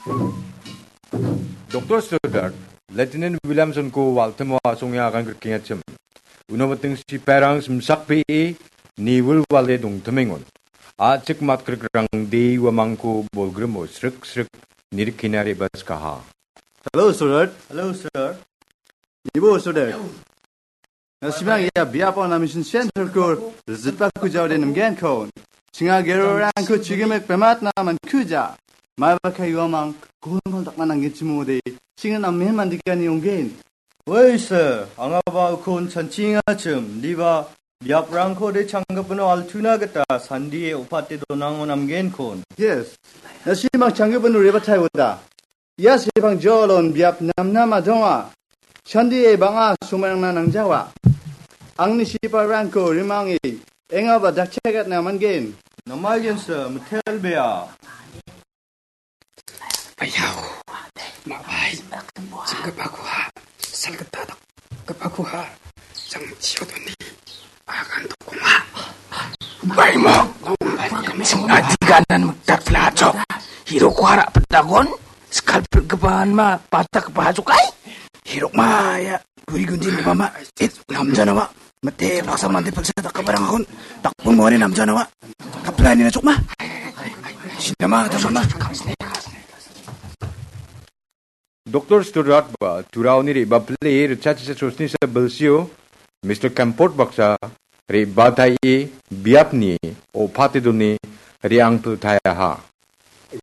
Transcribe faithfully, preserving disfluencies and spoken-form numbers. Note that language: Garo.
Doktor Stoddart, Lieutenant Williamson-ko waltimo asonge agan grikengachim. Uno miting sipairang simsakbee niwilwale dongtimengon. A·chik matkrikrangde uamangko bolgrimo srik srik nirikina re·baskaha. Hello, Stoddart. Hello, sir. Ibo, Stoddart. Na·simang ia biapo na mission center-ko rizitba kujao de namgenkon. Chinga gerorangko chigimik bematna mankuja. Maiba kai uamang golmol dakna nanggenchimode. Chinga namen mandikani onggen. Oi, sir, angaba ukon chanchingachim, diba biaprangko de changgipino altuna gita sandie opate donango namgenkon. Yes. Na·simang changgipino rebatai oda. Ia sepang jolon biap namnama donga. Sandie bang·a somarangna nangjawa. Angni siparangko rimange engaba dakchagatna mangen. Namaigensa mitelbea. Ayau, mabai, sanggapakuha, salgatadak, gapakuha, sang chiodoni, akan dokuma. Baimo, adiganan mektak laco, hiroko harap pedagon, sekal pergebahan ma, patak bahajukai. Hirok ma, ya, guri gunjin mama, it, namjanawa. Mate paksa mande paksa tak kabarang akon. Tak pun mori namjanawa. Kaplani na chukma. Sinama, tak sama. Doktor Stoddart ba turaoni re·bapile ritchasa sosnisa bilsio, Mister Kemport baksa re·bataie biapni opate doni re·angpiltaiaha.